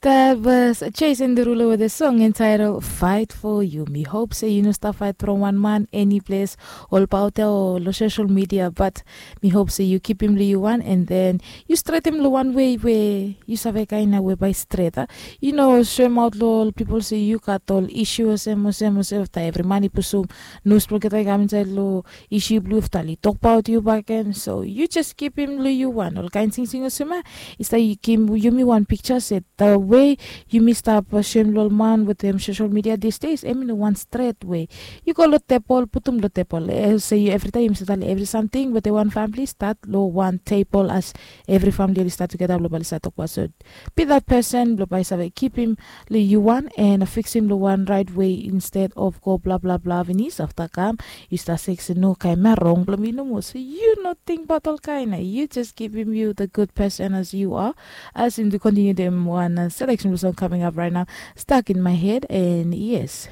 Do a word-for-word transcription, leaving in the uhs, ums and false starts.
That was Jason Derulo with a song entitled Fight For You. Mi hope se yu no stap fight from wan man eni ples, ol baot ya o lo social media, but mi hope se yu kipim lo yu wan, and then yu stretim lo wan wei we yu save kaina we bae stret. Yu no soemaot lo ol pipol se yu gat ol isu olsem olsem olsem, afta evri man i pusum nus blong olgeta i kam insaed lo isu blong yu, afta oli tokbaot yu bakegen. So yu jes kipim lo yu wan. Ol kaen singsing olsem ya i stap givim yumi wan piksa se the way yumi stap soem lo ol man wetem social media these days, em i no wan stret wei. Yu go lo tebol, putum lo tebol, se yu evritaem yumi stap talem evri samting wetem wan famili stat lo wan tebol, as evri famili oli stat tugeta blong bae oli stat tokbaot. So be that person blong bae save kipim lo yu wan and fiksim lo wan raet wei, instead of go bla bla bla finis, afta kam yu stap se se no, kaen ya rong blong mi nomo. So yu no tingbaot ol kaen ya, yu jes givim yu the good person as you are. As yumi kontiniu dem wan selection blong song coming up right now, Stuck in My Head, and yes,